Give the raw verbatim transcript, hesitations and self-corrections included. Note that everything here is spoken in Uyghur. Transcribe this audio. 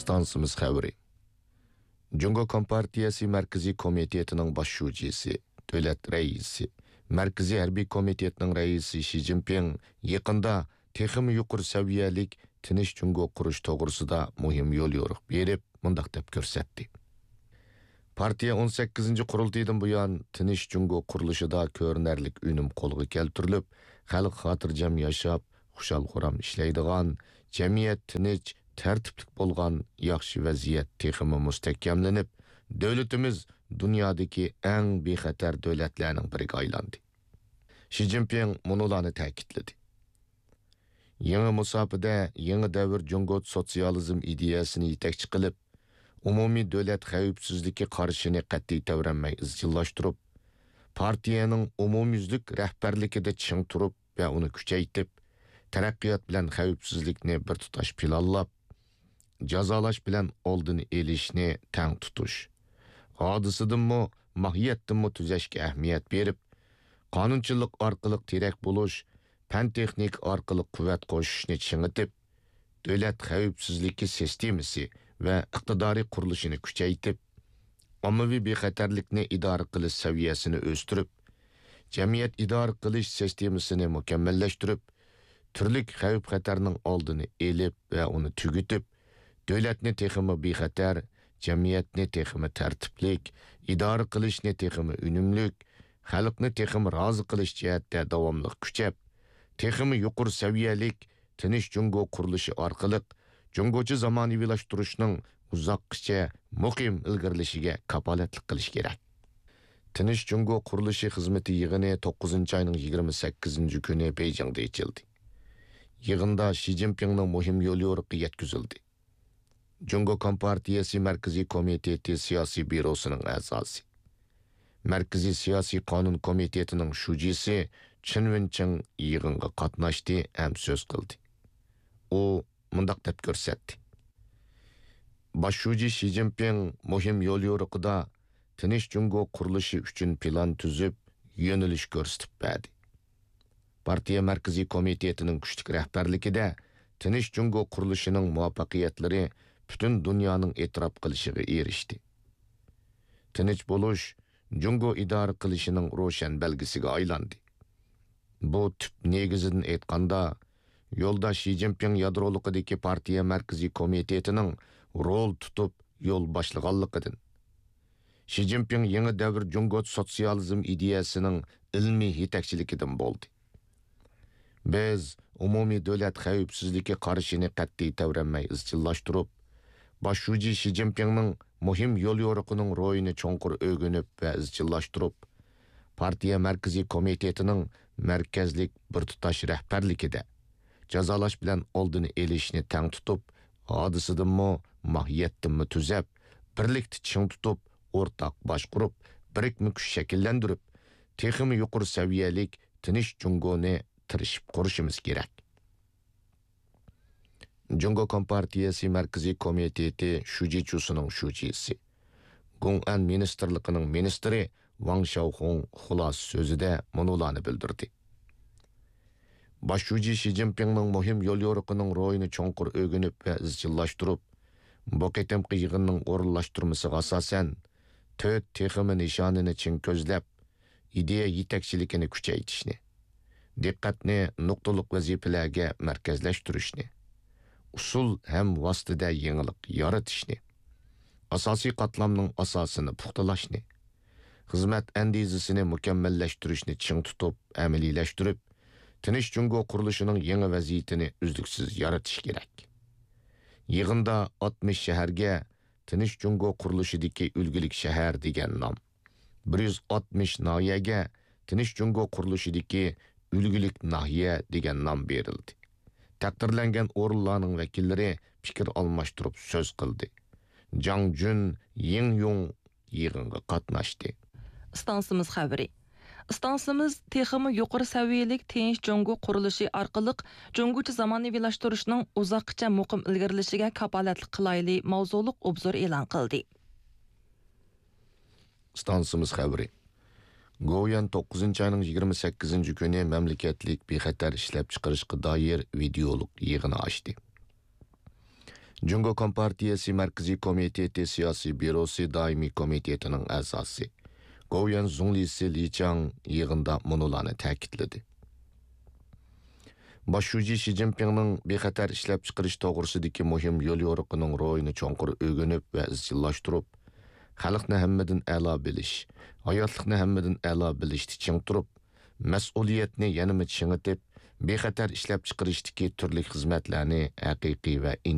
ئىستانسىمىز خەۋىرى. جۇڭگو كومپارتىيەسى مەركىزىي كومىتېتىنىڭ باش شۇجىسى، دۆلەت رەئىسى، مەركىزىي ھەربىي كومىتېتنىڭ رەئىسى شى جىنپىڭ يېقىندا تېخىمۇ يۇقىرى سەۋىيەلىك تىنچ جۇڭگو قۇرۇش توغرىسىدا مۇھىم يوليورۇق بېرىپ، مۇنداق دەپ كۆرسەتتى: پارتىيە ئون سەككىزىنچى قۇرۇلتىيىدىن بۇيان، تىنچ جۇڭگو قۇرۇلۇشىدا كۆرۈنەرلىك ئۈنۈم قولغا كەلتۈرۈلۈپ، خەلق خاتىرجەم ياشاپ، خۇشال-خۇرام ئىشلەيدىغان، جەمئىيەت تىنچ، تەرتىپلىك بولغان ياخشى ۋەزىيەت تېخىمۇ مۇستەھكەملىنىپ، دۆلىتىمىز دۇنيادىكى ئەڭ بىخەتەر دۆلەتلەرنىڭ بىرىگە ئايلاندى. شى جىنپىڭ مۇنۇلارنى تەكىتلىدى: يېڭى مۇساپىدە يېڭى دەۋر جۇڭگو سوتسىيالىزم ئىدىيەسىنى يېتەكچى قىلىپ، ئومۇمىي دۆلەت خەۋپسىزلىكى قارىشىنى قەتئىي تەۋرەنمەي ئىزچىللاشتۇرۇپ، پارتىيەنىڭ ئومۇميۈزلۈك رەھبەرلىكىدە چىڭ تۇرۇپ ۋە ئۇنى كۈچەيتىپ، تەرەققىيات بىلەن خەۋپسىزلىكنى بىر تۇتاش پىلانلاپ، جازالاش بىلەن ئالدىنى ئېلىشنى تەڭ تۇتۇش، ھادىسىدىنمۇ، ماھىيەتتىنمۇ تۈزەشكە ئەھمىيەت بېرىپ، قانۇنچىلىق ئارقىلىق تىرەك بولۇش، پەن-تېخنىكا ئارقىلىق قۇۋۋەت قوشۇشنى چىڭىتىپ، دۆلەت خەۋپسىزلىكى سىستېمىسى ۋە ئىقتىدارى قۇرۇلۇشىنى كۈچەيتىپ، ئاممىۋى بىخەتەرلىكنى ئىدارە قىلىش سەۋىيەسىنى ئۆستۈرۈپ، جەمئىيەت ئىدارە قىلىش سىستېمىسىنى مۇكەممەللەشتۈرۈپ، تۈرلۈك خەۋپ-خەتەرنىڭ ئالدىنى ئېلىپ ۋە ئۇنى تۈگىتىپ، دۆلەتنى تېخىمۇ بىخەتەر، جەمئىيەتنى تېخىمۇ تەرتىپلىك، ئىدارە قىلىشنى تېخىمۇ ئۈنۈملۈك، خەلقنى تېخىمۇ رازى قىلىش جەھەتتە داۋاملىق كۈچەپ، تېخىمۇ يۇقىرى سەۋىيەلىك تىنچ جۇڭگو قۇرۇلۇشى ئارقىلىق جۇڭگوچە زامانىۋىلاشتۇرۇشنىڭ ئۇزاققىچە مۇقىم ئىلگىرىلىشىگە كاپالەتلىك قىلىش كېرەك. تىنچ جۇڭگو قۇرۇلۇشى خىزمىتى يىغىنى توققۇزىنچى ئاينىڭ يىگىرمە سەككىزىنچى كۈنى بېيجىڭدا ئېچىلدى. يىغىندا شى جىنپىڭنىڭ مۇھىم يوليورۇقى يەتكۈزۈلدى. جۇڭگو كومپارتىيەسى مەركىزىي كومىتېتى سىياسىي بيۇروسىنىڭ ئەزاسى، مەركىزىي سىياسىي قانۇن كومىتېتىنىڭ شۇجىسى چېن ۋېنچىڭ يىغىنغا قاتناشتى ھەم سۆز قىلدى. ئۇ مۇنداق دەپ كۆرسەتتى: باش شۇجى شى جىنپىڭ مۇھىم يوليورۇقىدا تىنچ جۇڭگو قۇرۇلۇشى ئۈچۈن پىلان تۈزۈپ، يۆنىلىش كۆرسىتىپ بەردى. پارتىيە مەركىزىي كومىتېتىنىڭ كۈچلۈك رەھبەرلىكىدە تىنچ جۇڭگو قۇرۇلۇشىنىڭ مۇۋەپپەقىيەتلىرى پۈتۈن دۇنيانىڭ ئېتىراپ قىلىشىغا ئېرىشتى. تىنچ بولۇش جۇڭگو ئىدارە قىلىشىنىڭ روشەن بەلگىسىگە ئايلاندى. بۇ تۈپ نېگىزىدىن ئېيتقاندا، يولداش شى جىنپىڭ يادرولۇقىدىكى پارتىيە مەركىزىي كومىتېتىنىڭ رول تۇتۇپ يول باشلىغانلىقىدىن، شى جىنپىڭ يېڭى دەۋر جۇڭگو سوتسىيالىزم ئىدىيەسىنىڭ ئىلمىي يېتەكچىلىكىدىن بولدى. بىز ئومۇمىي دۆلەت خەۋپسىزلىكى قارىشىنى قەتئىي تەۋرەنمەي ئىزچىللاشتۇرۇپ، باش شۇجى شى جىنپىڭنىڭ مۇھىم يوليورۇقىنىڭ روھىنى چوڭقۇر ئۆگىنىپ ۋە ئىزچىللاشتۇرۇپ، پارتىيە مەركىزىي كومىتېتىنىڭ مەركەزلىك بىر تۇتاش رەھبەرلىكىدە جازالاش بىلەن ئالدىنى ئېلىشنى تەڭ تۇتۇپ، ھادىسىدىنمۇ، ماھىيەتتىنمۇ تۈزەپ، بىرلىكتە چىڭ تۇتۇپ، ئورتاق باشقۇرۇپ، بىرىكمە كۈچ شەكىللەندۈرۈپ، تېخىمۇ يۇقىرى سەۋىيەلىك تىنچ جۇڭگونى تىرىشىپ قۇرۇشىمىز كېرەك. جۇڭگو كومپارتىيەسى مەركىزىي كومىتېتى شۇجىچۇسىنىڭ شۇجىسى، گۇڭئەن مىنىستىرلىقىنىڭ مىنىستىرى ۋاڭ شياۋخۇڭ خۇلاسە سۆزىدە مۇنۇلارنى بىلدۈردى. باش شۇجى شى جىنپىڭنىڭ مۇھىم يوليورۇقىنىڭ روھىنى چوڭقۇر ئۆگىنىپ ۋە ئىزچىللاشتۇرۇپ، بۇ قېتىمقى يىغىننىڭ ئورۇنلاشتۇرمىسىغا ئاساسەن، تۆت تېخىمۇ نىشانىنى چىڭ كۆزلەپ، ئىدىيە يېتەكچىلىكىنى كۈچەيتىشنى، دىققەتنى نۇقتىلىق ۋەزىپىلەرگە مەركەزلەشتۈرۈشنى، ئۇسۇل ھەم ۋاسىتىدە يېڭىلىق يارىتىشنى، ئاساسىي قاتلامنىڭ ئاساسىنى پۇختىلاشنى، خىزمەت ئەندىزىسىنى مۇكەممەللەشتۈرۈشنى چىڭ تۇتۇپ ئەمەلىيلەشتۈرۈپ، تىنچ جۇڭگو قۇرۇلۇشىنىڭ يېڭى ۋەزىيىتىنى ئۈزلۈكسىز يارىتىش كېرەك. يىغىندا ئاتمىش شەھەرگە تىنچ جۇڭگو قۇرۇلۇشىدىكى ئۈلگىلىك شەھەر دېگەن نام، بىر يۈز ئاتمىش ناھىيەگە تىنچ جۇڭگو قۇرۇلۇشىدىكى ئۈلگىلىك ناھىيە دېگەن نام بېرىلدى. تەقدىرلەنگەن ئورۇنلارنىڭ ۋەكىللىرى پىكىر ئالماشتۇرۇپ سۆز قىلدى. جاڭ جۈن، يىڭ يۇڭ يىغىنغا قاتناشتى. ئىستانسىمىز خەۋىرى. ئىستانسىمىز تېخىمۇ يۇقىرى سەۋىيەلىك تىنچ جۇڭگو قۇرۇلۇشى ئارقىلىق جۇڭگوچە زامانىۋىلاشتۇرۇشنىڭ ئۇزاققىچە مۇقىم ئىلگىرىلىشىگە كاپالەتلىك قىلايلى ماۋزۇلۇق ئوبزور ئېلان قىلدى. ئىستانسىمىز خەۋىرى. گوۋۇيۈەن توققۇزىنچى ئاينىڭ يىگىرمە سەككىزىنچى كۈنى مەملىكەتلىك بىخەتەر ئىشلەپچىقىرىشقا دائىر ۋىدېئولۇق يىغىنى ئاچتى. جۇڭگو كومپارتىيەسى مەركىزىي كومىتېتى سىياسىي بيۇروسى دائىمىي كومىتېتىنىڭ ئەزاسى، گوۋۇيۈەن زۇڭلىسى لى چاڭ يىغىندا مۇنۇلارنى تەكىتلىدى. باش شۇجى شى جىنپىڭنىڭ بىخەتەر ئىشلەپچىقىرىش توغرىسىدىكى مۇھىم يوليورۇقىنىڭ روھىنى چوڭقۇر ئۆگىنىپ ۋە ئىزچىللاشتۇرۇپ، خەلقنى ھەممىدىن ئەلا بىلىش، ھاياتلىقنى ھەممىدىن ئەلا بىلىشتە چىڭ تۇرۇپ، مەسئۇلىيەتنى يەنىمۇ چىڭىتىپ، بىخەتەر ئىشلەپچىقىرىشتىكى تۈرلۈك خىزمەتلەرنى ھەقىقىي ۋە